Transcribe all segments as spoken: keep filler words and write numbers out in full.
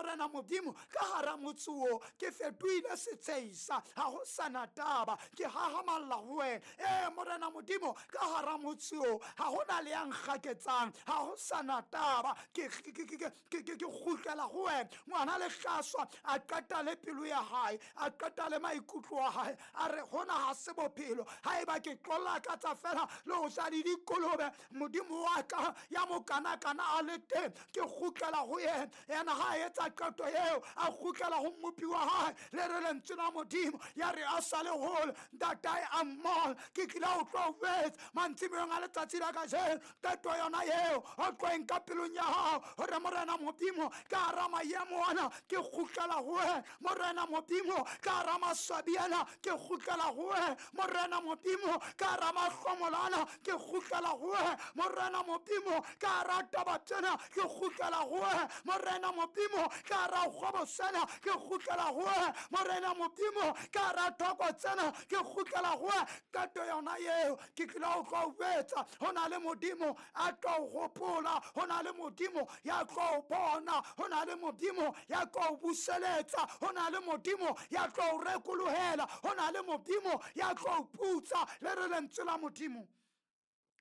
Morena Modimo ka hara motse o ke fetohile setsheisa, ha ho sana taba, ke hahamalla ho wena. Ee Morena Modimo ka hara motse o ha hona le ya nkgaketsang, ha ho sana taba, ke ke kgutlela ho wena. Ngwana lehlaswa a qeta le pelo ya hae, a qeta le maikutlo a hae, a re hona ha se bophelo, haeba ke tlola ka tsa fela le ho ja le dikolobe, Modimo wa ka ya mokanakana a le teng, ke kgutlela ho yena. Yena ha a etsa qeto eo, a kgutlela ho mmopi wa hae, le re lentswe la Modimo ya re a sa le hole, ntatae a mmona. Ke tlile ho tlo jwetsa mantsiboyeng a letsatsi la kajeno, qeto yona eo o tlo e nka pelong ya hao, hore Morena Modimo ka hara maemo ana ke kgutlela ho wena. Morena Modimo ka hara maswabi ana ke kgutlela ho wena. Morena Modimo ka hara mahlomola ana ke kgutlela ho wena. Morena Modimo ka hara taba tsena ke kgutlela ho wena. Morena Modimo ka hara kgwebo sena ke kgutlela ho wena. Morena Modimo ka hara thoko tsena ke kgutlela ho wena. Qeto yona eo ke tlile ho tlo jwetsa, ho na le Modimo a tlo hopola, ho na le Modimo ya tlo bona, ho na le Modimo ya tlo buseletsa, ho na le Modimo ya tlo rekolohela, ho na le Modimo ya tlo putsa. Le re lentswe la Modimo.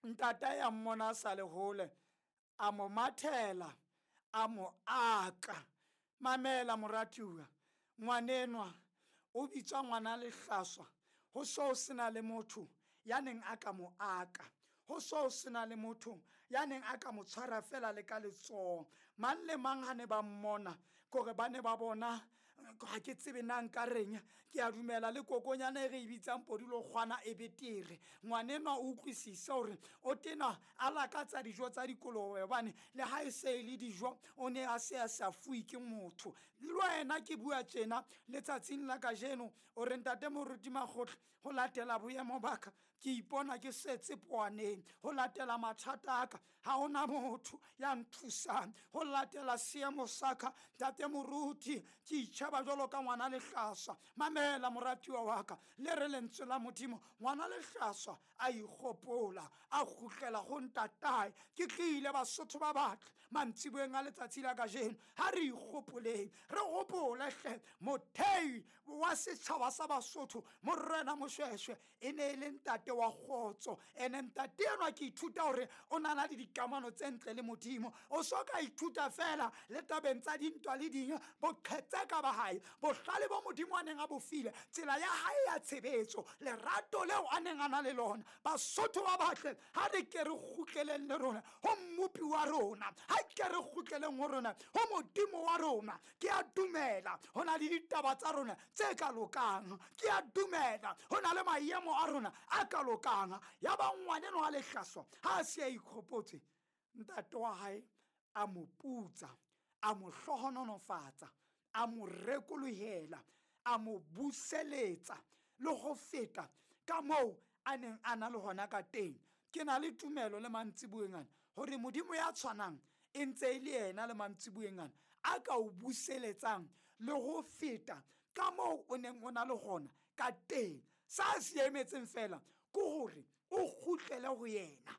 Ntatae a mmona a sa le hole, a mo mathela, a mo aka. Mamela moratuwa, ngwanenwa o bitswa ngwana lehlaswa, ho so sena le motho ya neng a ka mo aka, ho so sena le motho ya neng a ka mo tshwara fela le ka letsoho. Mang le mang ha ne ba mmona, kore ba ne ba bona, ha ke tsebe na nka reng, ke a dumela le kokonyana e re e bitsang podulokgwana e betere. Ngwanenwa o utlwisise hore o tena a lakatsa dijo tsa dikolobe, hobane le ha e se e le dijo o ne a se a sa fuwe ke motho. Le wena ke bua tjena letsatsing la kajeno, o re ntate moruti Makgotla, ho latela boemo ba ka ke ipona ke setse poaneng, ho latela mathata a ka ha hona motho ya nthusang, ho latela seemo sa ka ntate moruti ke itjheba jwalo ka ngwana lehlaswa. Mamela moratuwa wa ka, le re lentswe la Modimo, ngwana lehlaswa a ikgopola, a kgutlela ho ntatae. Ke tlile Basotho ba batle mantsiboyeng a letsatsi la kajeno, ha re ikgopoleng, re hopole hle mothei wa setjhaba sa Basotho Morena Moshweshwe e ne e le ntate wa kgotso. Ene ntate enwa ke ithuta hore o na le dikamano tse ntle le Modimo. O so ka ithuta fela le tabeng tsa dintwa le ding, boqhetseka ba hae, bohlale bo Modimo a neng a bo file, tsela ya hae ya tshebetso, lerato leo a neng a na le lona. Basotho ba batle, ha re ke re kgutleleng le rona ho mmopi wa rona, ha ke re kgutleleng ho rona ho Modimo wa rona. Ke a dumela ho na le ditaba tsa rona tse ka lokang, ke a dumela ho na le maemo a rona a ka lokang. Ya ba ngwaneno wa lehlaswa ha a se a ikgopotse, ntate wa hae a mo putsa, a mo hlohonolofatsa, a mo rekolohela, a mo buseletsa le ho feta ka moo a neng a na le hona ka teng. Ke na le tumelo le mantsiboyeng ana hore Modimo ya tshwanang e ntse e le yena le mantsiboyeng ana a ka o buseletsang le ho feta ka moo o neng o na le hona ka teng. Sa se emetseng fela ke hore o kgutlele ho yena.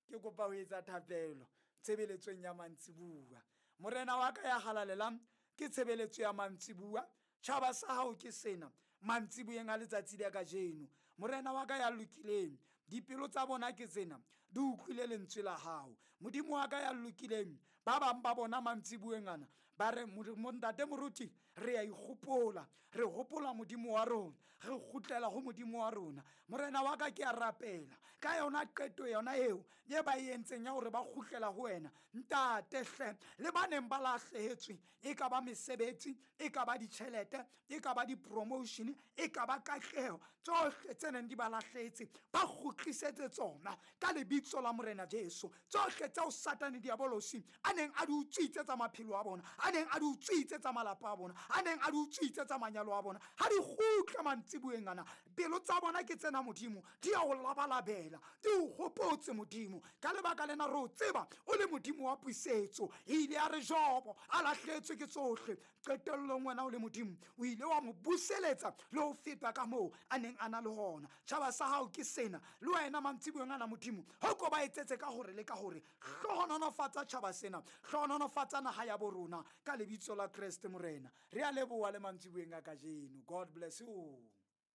Ke kopa ho etsa thapelo tshebeletsong ya mantsibuya. Morena wa ka ya halalelang, ke tshebeletso ya mantsibuya. Tjhaba sa hao ke sena mantsiboyeng a letsatsi la kajeno. Morena wa ka ya lokileng, dipelo tsa bona ke tsena, di utlwile lentswe la hao. Modimo wa ka ya lokileng, ba bang ba bona mantsiboyeng ana ba re, ntate moruti, re a ikgopola, re hopola Modimo wa rona, re kgutlela ho Modimo wa rona. Morena wa ka ke a rapela ka yona qeto yona eo ye ba e entseng ya hore ba kgutlela ho wena. Ntate hle, le ba neng ba lahlehetswe, e ka ba mesebetsi, e ka ba ditjhelete, e ka ba di-promotion, e ka ba katleho, tsohle tse neng di ba lahlehetse ba kgutlisetse tsona ka lebitso la Morena Jesu. Tsohle tseo Satane Diabolosi a neng a di utswitse tsa maphelo a bona, a neng a di utswitse tsa malapa a bona, a neng a di utswitse tsa manyalo a bona, ha di kgutle mantsiboyeng ana. Pelo tsa bona ke tsena Modimo, di a o labalabela, di o hopotse Modimo. Ka lebaka lena re o tseba o le Modimo wa puisetso. E ile ya re Jobo a lahletswe ke tsohle, qetellong wena o le Modimo o ile wa mo buseletsa le ho feta ka moo a neng a na le hona. Tjhaba sa hao ke sena, le wena mantsiboyeng ana Modimo, ho A ko ba etsetse ka hore le ka hore. Hlohonolofatsa tjhaba sena, hlohonolofatsa naha ya bo rona ka lebitso la Kreste Morena. Re a leboha le mantsiboyeng a kajeno. God bless you.